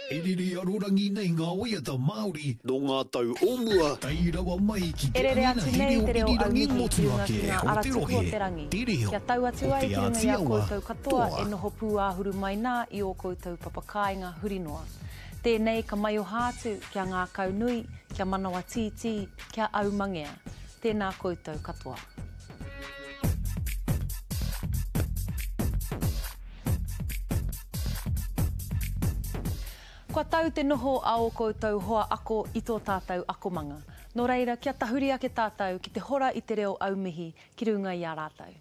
E rere arorangi nei ngā waiata Māori nō ngā tau o mua, tae rawa mai ki E te rere atu rangi nei reo te reo irirangi aumihi ki runga ki motuhake ngā o ara te tuku o rohe, te rangi, te reo kia tau atu o ai Te ki runga i Āti a Awa, koutou katoa toa. e noho pūāhuru mai nā i ō koutou papakāinga huri noa. Tēnei ka maioha atu kia ngākaunui, kia manawa tītī, kia aumangea. Tēnā koutou katoa. Kua tau te noho a ō koutou hoa ako i tō tātou akomanga. Nō reira, kia tahuri ake tātou ki te hora i te reo aumihi ki runga i a rātou.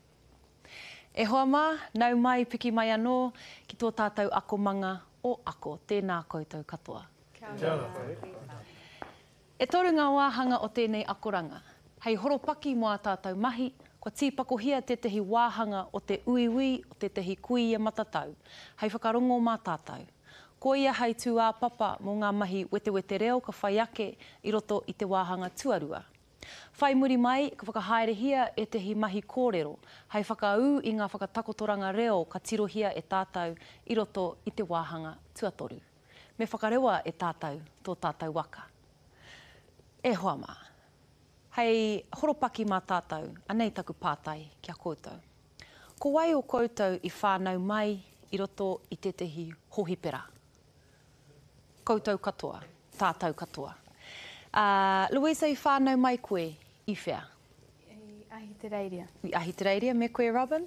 E hoa mā, nau mai, piki mai anō ki tō tātou akomanga o Ako. Tēnā koutou katoa. Kia ora. E toru ngā wāhanga o tēnei akoranga. Hei horopaki mō ā tātou mahi, kua tīpakohia tētahi wāhanga o te uiui o tētahi kuia matatau, hei whakarongo mā tātou. Koia hei tūāpapa mō ngā mahi wetewete reo ka whai ake i roto i te wāhanga tuarua. Whai muri mai, ka whakahaerehia ētahi mahi kōrero, hei whakaū i ngā whakatakotoranga reo ka tirohia e tātou i roto i te wāhanga tuatoru. Me whakarewa e tātou tō tātou waka. E hoa mā. Hei horopaki mā tātou, anei taku pātai ki a koutou. Ko wai o koutou i whānau mai i roto i tētahi hōhipera? Koutou katoa, tātou katoa. Ā, Louisa i whānau mai koe i whea? I Ahitereiria. I Ahitereiria, me koe Robin?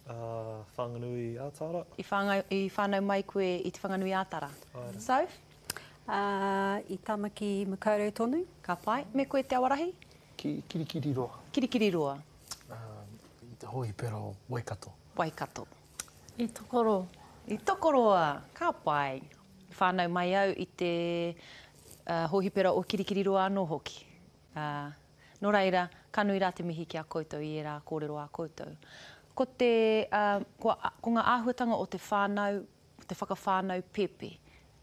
Uh, Whanganui ā-Tara. I, whāngai, I whānau mai koe i te Whanganui ā-Tara. Āe. Soph? Uh, I Tamaki Makaurau tonu. Ka pai. Me koe Te Awarahi? Ki Kirikiriroa. Kirikiriroa. Uh, I te hōhipera o Waikato. Waikato. I Tokoroa. I Tokoroa. Ka pai. I whānau mai au i te uh, hōhipera o Kirikiriroa anō hoki. Ā, nō reira, ka nui rā te mihi ki a koutou i ērā kōrero a koutou. Ko te, ā, ko, ko ngā āhuatanga o te whānau, te whakawhānau pēpi,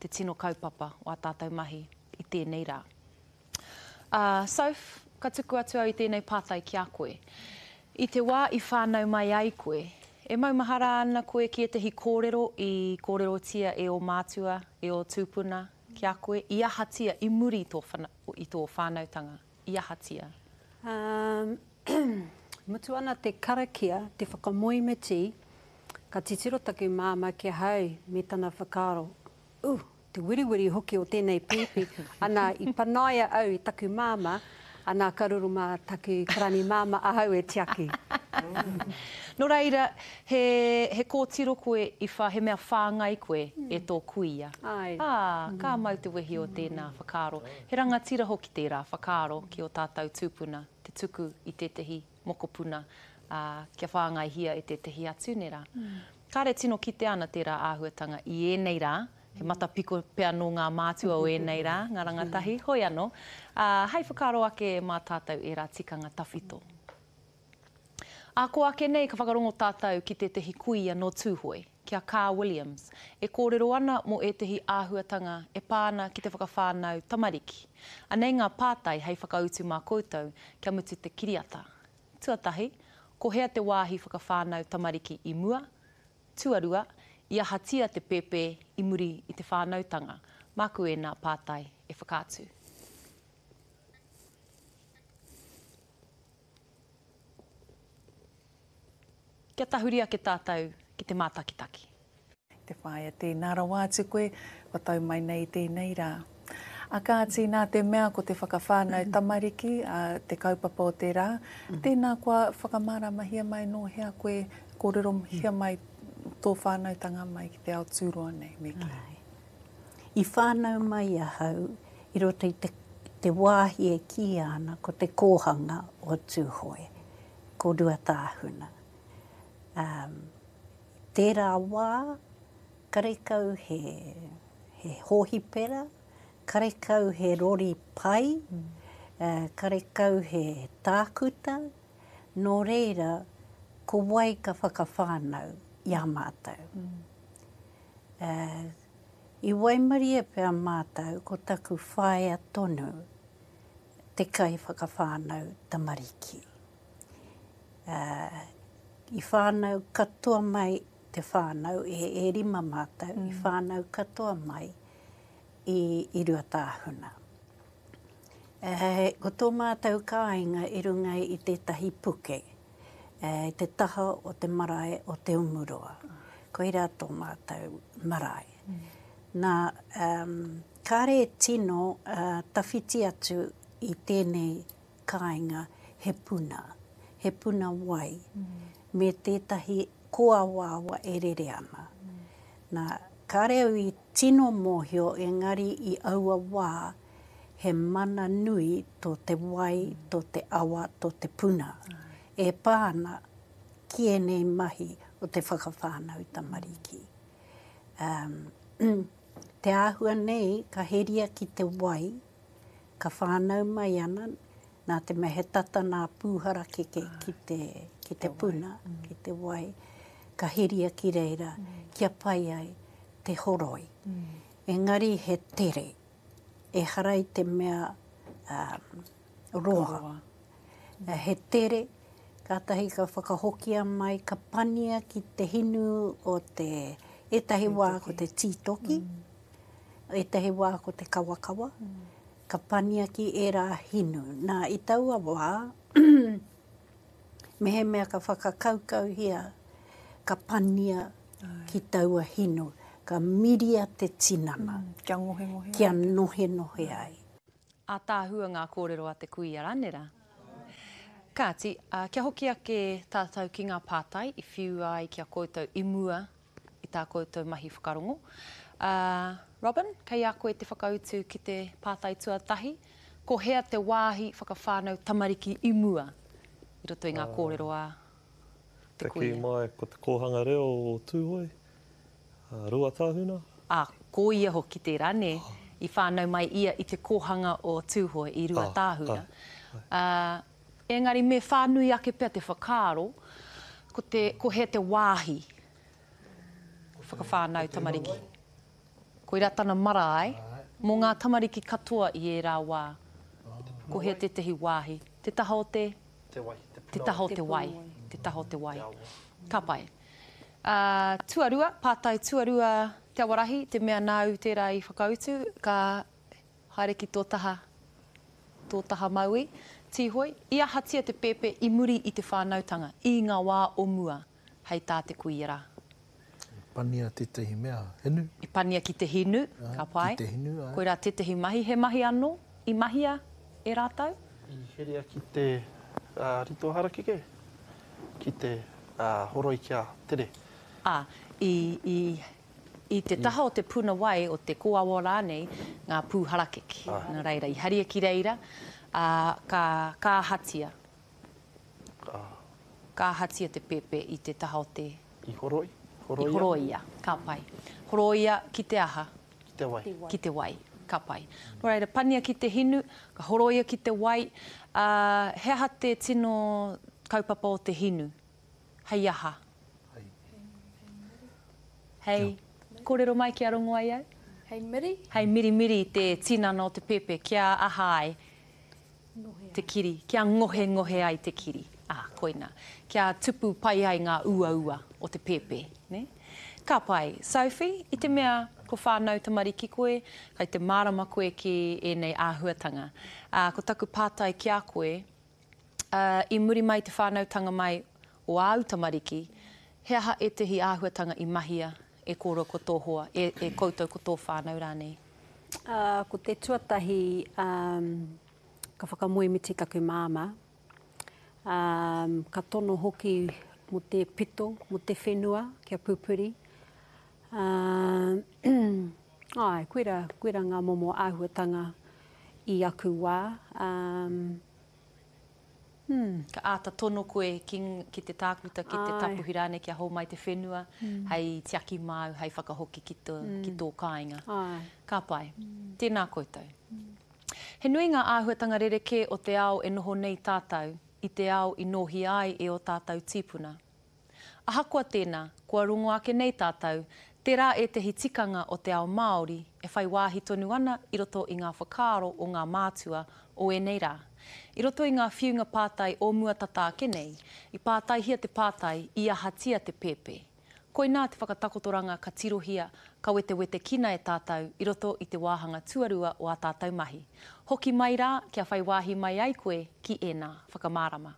te tino kaupapa o ā tātou mahi i tēnei rā. Ā, Soph, ka tuku atu au i tēnei pātai ki a koe. I te wā i whānau mai ai koe, e maumahara ana koe ki ētahi kōrero i kōrerotia e ō mātua, e ō tūpuna, Ki a koe, i ahatia i muri i tō, i tō whānautanga? I ahatia? Um, mutu ana te karakia, te whakamoemiti, ka titiro taku māmā ki ahau me tana whakaaro, Uh, te wiriwiri hoki o tēnei pēpi. Ana, i panaia au i taku māmā, ana ka riro mā taku karani māmā ahau e tiaki. Nō reira, he, he kōtiro koe i whā, he mea whāngai koe e tō kuia. Āe. Ā, ka mau te wehi o tēnā whakaaro. He rangatira hoki tērā whakaaro ki ō tātou tūpuna, te tuku i tētahi mokopuna, ā, kia whāngaihia e tētahi atu, nē rā? Kāre tino kitea ana tērā āhuatanga i ēnei rā, he matapiko pea nō ngā mātua o ēnei rā, ngā rangatahi, hoi anō, ā, hei whakaaro ake mā tātou ērā tikanga tawhito. Ā kō ake nei ka whakarongo tātou ki tētehi kuia nō Tūhoe, ki a Kaa Williams, e kōrero ana mō ētehi āhuatanga e pā ana ki te whakawhānau tamariki. Anei ngā pātai hei whakautu mā koutou kia mutu te kiriata. Tuatahi, ko hea te wāhi whakawhānau tamariki i mua? Tuarua, i ahatia te pēpē i muri i te whānautanga? Māku ēnā pātai e whakaatu. Kia tahuri ake tātou ki te mātakitaki. Te whāia tēnā rawa atu koe, kua tau mai nei i tēnei rā. A kāti, nā te mea ko te whakawhānau tamariki te kaupapa o te rā, tēnā kua whakamāramahia mai nō hea koe, kōrerohia mai tō whānautanga mai ki te ao tūroa nei, me kī. I whānau mai ahau i roto i te, te wāhi e kīia ana ko te kōhanga o Tūhoe, ko Ruatāhuna. Um, tērā wā, karekau he, he hōhipera, karekau he rori pai, mm. uh, karekau he tākuta, nō reira, ko wai ka whakawhānau i a mātou. Mm. Uh, I waimarie pea mātou ko taku whaea tonu te kaiwhakawhānau tamariki. I whānau katoa mai te whānau, e, e rima mātou, mm. i whānau katoa mai. i, i Ruatāhuna. Ko tō mātou kāinga i runga i tētahi puke, i te taha o te marae o Te Umuroa. Koirā tō mātou marae. Nā, kāre e tino tawhiti atu i tēnei kāinga he puna, he puna wai, me tētahi kōawaawa e rere ana. Nā, kāre au i tino mōhio engari i aua wā he mana nui tō te wai, tō te awa, tō te puna e pā ana ki ēnei mahi o te whakawhānau tamariki. Um, te āhua nei ka heria ki te wai, ka whānau mai ana, nā te mea he tata nā pūharakeke ki te, ki te puna, ki te wai, ka heria ki reira kia pai ai te horoi. Engari he tere, ehara i te mea roa. He tere, kātahi ka whakahokia mai, ka pania ki te hinu o te, ētahi wā ko te tītoki, ētahi wā ko te kawakawa, ka pania ki ērā hinu. Nā, i taua wā, mehemea ka whakakaukauhia, ka pania ki taua hinu, ka miria te tinana. Kia ngohengohe ai. Kia nohenohe ai. Ātaahua ngā kōrero a te kuia Ranera. Kāti, kia hoki ake tātou ki ngā pātai i whiua ai ki a koutou i mua i tā koutou mahi whakarongo. Robin, kei a koe te whakautu ki te pātai tuatahi, ko hea te wāhi whakawhānau tamariki i mua i roto i ngā kōrero a te kuia? Te kī mai ko te kōhanga reo o Tūhoe, Ruatāhuna. Ā, ko ia hoki tērā, nē? I whānau mai ia i te kōhanga o Tūhoe, i Ruatāhuna. Ā, engari me whānui ake pea te whakaaro, ko te, ko hea te wāhi whakawhānau tamariki. Koirā tana marae, mō ngā tamariki katoa i ērā wā. Ko hea tētehi wāhi? Te taha o te? Te wai. Te taha o te wai. Te taha o te wai. Ka pai. Ā, tuarua, pātai tuarua Te Awarahi, te mea nāu tērā i whakautu, ka haere ki tō taha, tō taha mauī. Tīhoi, i ahatia te pēpē i muri i te whānautanga, i ngā wā o mua, hei tā te kuia rā? I pania tētahi mea, hinu. I pania ki te hinu, ka pai. Ki te hinu, āe. Koirā tētahi mahi, he mahi anō i mahia e rātou? I herea ki te rito harakeke, ki te horoi kia tere. Ā, i, i, i te taha o te puna wai, o te kōawa rānei, ngā pū harakeke. Nā reira, i haria ki reira, ā, ka, ka ahatia? Ka. Ka ahatia te pēpē i te taha o te. I horoi, horoia. I horoia, ka pai. Horoia ki te aha? Ki te wai. Ki te wai, ka pai. Nō reira, pania ki te hinu, ka horoia ki te wai, ā, he aha te tino kaupapa o te hinu? Hei aha? Hei. Hei. Kōrero mai kia rongo ai au? Hei miri. Hei mirimiri i te tinana o te pēpē kia aha ai? te kiri, kia ngohengohe ai te kiri, ā, koina, kia tupu pai ai ngā uaua o te pēpē, nē? Ka pai. Sophie, i te mea ko whānau tamariki koe, kei te mārama koe ki ēnei āhuatanga. Ā, ko taku pātai ki a koe, ā, i muri mai i te whānautanga mai o āu tamariki, he aha ētahi āhuatanga i mahia e kōrua ko tō hoa, e, e koutou ko tō whānau rānei? Ā, ko te tuatahi, ā, ka whakamoemiti taku māmā. Ā, ka tono hoki mō te pito, mō te whenua kia pupuri. Ā, āe, koirā, koirā ngā momo āhuatanga i aku wā. Ā, Hmm. Ka āta tono koe ki, ki te tākuta, ki te tapuhi rānei kia hōmai te whenua hei tiaki māu, hei whakahoki ki tō, ki tō kāinga. Ka pai. Tēnā koutou. He nui ngā āhuatanga rerekē o te ao e noho nei tātou i te ao i nōhia ai e ō tātou tīpuna. Ahakoa tēnā, kua rongo ake nei tātou, tērā ētehi tikanga o te ao Māori e whai wāhi tonu ana i roto i ngā whakaaro o ngā mātua o ēnei rā. I roto i ngā whiunga pātai o mua tata ake nei, i pātaihia te pātai i ahatia te pēpē. Koinā te whakatakotoranga ka tirohia, ka wetewetekina e tātou i roto i te wāhanga tuarua o ā tātou mahi. Hoki mai rā kia whai wāhi mai ai koe ki ēnā whakamārama.